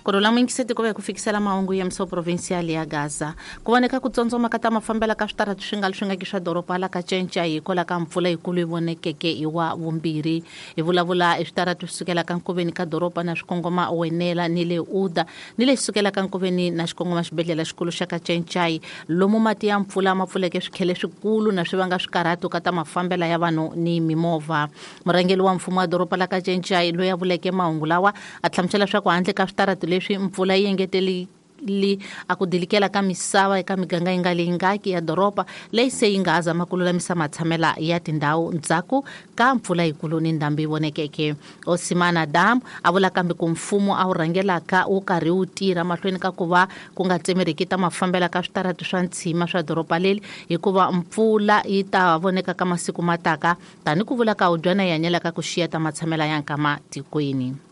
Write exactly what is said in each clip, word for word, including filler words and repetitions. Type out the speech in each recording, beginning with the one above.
Ku rhula muyingiseti ku va hi ku fikisela mahungu ya mso provincial ya Gaza. Ku voneka ku tsondzoma ka ta mafambela ka switarati swi nga swi nga ki swa doroba la ka Cenca hikwalaho ka mpfula yikulu yi vonekeke hi wa vumbirhi. Hi vulavula hi switarati swi sukela ka nkoveni ka doroba na swikongoma Wenela ni le Uda ni le sukela ka nkoveni na xikongoma xibedhlele xikulu xa ka Cencai lomu mati ya mpfula ma pfuleke swikhele swikulu na swi vanga swikarhato ka ta mafambela ya vanhu ni mimovha. Murhangeri wa mfumo wa doroba la ka Cencai loyi a vuleke mahungu lawa a hlamusela leswaku handle ka switarati leswi mpfula yi engeteli li a ku dilikela ka misava eka miganga yi nga leyi ngaki ya doroba leyi se yi nga ha zama ku lulamisa matshamela ya tindhawu ndzhaku ka mpfula yikulu ni ndhambi yi vonekeke. Osimana Dam a vula kambe ku mfumo a wu rhangelaka wu karhi wu tirha mahlweni ka ku va ku nga tsemeriki ta mafambela ka switarati swa ntshima swa doroba leri hikuva mpfula yi ta voneka ka masiku mataka tani ku vula ka udyana yi hanyelaka ku xiya ta matshamela ya nkama tikweni.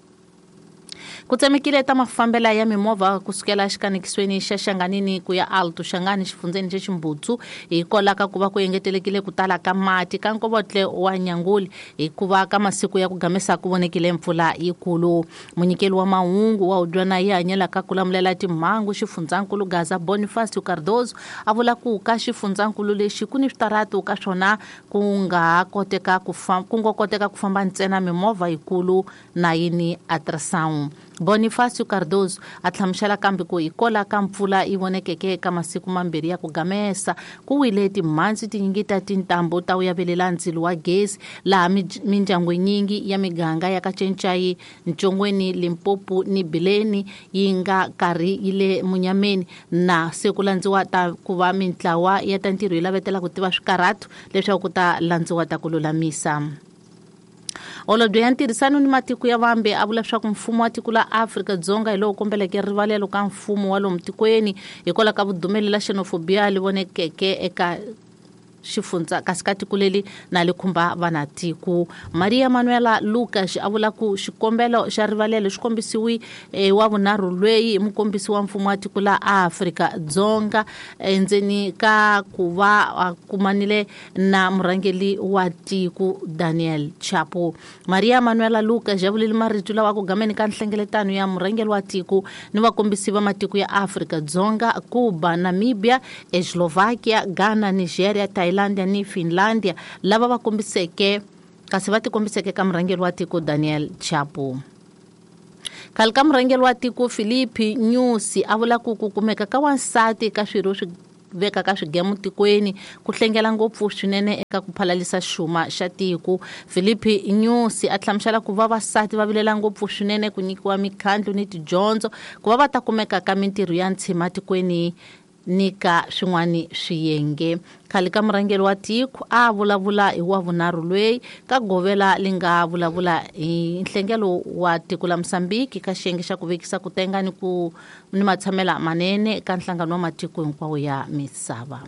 Ku tsemekile ta mafambela ya mimovha kusukela xikanekisweni xa Xanganini ku ya Alto Xangani xifundzeni xa Ximbutsu hikwalaho ka ku va ku engetelekile ku tala ka mati ka nkovotle wa Nyanguli hikuva ka masiku ya ku gamesa ku vonekile mpfula yikulu. Munyikeli wa mahungu wa udyana yi hanyelaka ku lamulela timhangu xifundzankulu Gaza Bonifacio Cardozo a vula ku ka xifundzankulu lexi ku ni switarati ka swona ku nga koteka ku famba ku nga koteka ku famba ntsena mimovha yikulu na yini ultrasound. Bonifacio Cardozo a hlamusela kambe ku hikwalaho ka mpfula yi vonekeke eka masiku mambirhi ya ku gamesa ku wile timhandzi tinyingi ta tintambu ta wu yavelela ndzilo wa gezi laha mindyangu yinyingi ya miganga ya ka Cencai, Ntshongweni, Limpopo ni Bileni yi nga karhi yi le munyameni na se ku landziwa ta ku va mintlawa ya ta ntirho yi lavetela ku tiva swikarhato leswaku ku ta landziwa ta ku lulamisa. Holobye ya ntirhisano ni matiko ya vambe a vula leswaku mfumo wa tiko la Afrika-Dzonga hi lowu kombeleke rivalelo ka mfumo wa lomu tikweni hikwalaho ka vudumeli la xenophobia li vonekeke eka xifundza kasi ka tiko leri na li khumba vanatiko. Maria Manuela Lucas a vula ku xikombelo xa rivalelo xi kombisiwi e, wa vunharhu lweyi hi mukombisi wa mfumo wa tiko la Afrika-Dzonga endzeni ka ku va a kumanile na murhangeri wa tiko Daniel Chapo. Maria Manuela Lucas ya vulile marito lawa ku gameni ka nhlengeletano ya murhangeri wa tiko ni vakombisi va matiko ya Afrika-Dzonga, Cuba, Namibia, Eslovakia, Ghana, Nigeria, Thailand ni Finlandia lava va kombiseke kasi va tikombiseke ka murhangeri wa tiko Daniel Chapo. Khale ka murhangeri wa tiko Filipe Nyusi a vula ku ku kumeka ka wansati ka swirho swi veka ka swigemu tikweni ku hlengela ngopfu swinene eka ku phalalisa xuma xa tiko. Filipe Nyusi a hlamusela ku vavasati va vilela ngopfu swinene ku nyikiwa mikhandlu ni tidyondzo ku va va ta kumeka ka mintirho ya ntshima tikweni ni ka swin'wani swiyenge. Khale ka murhangeri wa tiko a vulavula hi wa vunharhu lweyi ka govela li nga vulavula hi nhlengelo wa tiko la Mozambique ka xiyenge xa ku vekisa ku tenga ni ku ni matshamela manene ka nhlangano wa matiko hinkwawo ya misava.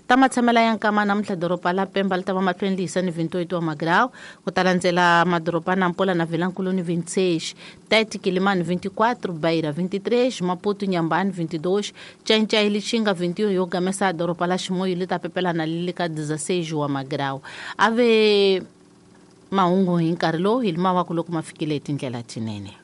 Ta matshamela ya nkama namuntlha doroba la Pemba li ta va mahlweni li hisa ni vintoito wa magrau ku ta landzela madoroba Nampula na Vilankulu ni vinte e seis, Tete Quilimane vinte e quatro, Beira vinte e três, Maputo Inhambane vinte e dois, Cencai Lichinga vinte e um yo gamesa doroba la Chimoio li ta pepela na li le ka dezesseis wa magrau. Ave mahungu hi nkarhi lowu hi lima wa ku loko ma fikile hi tindlela tinene.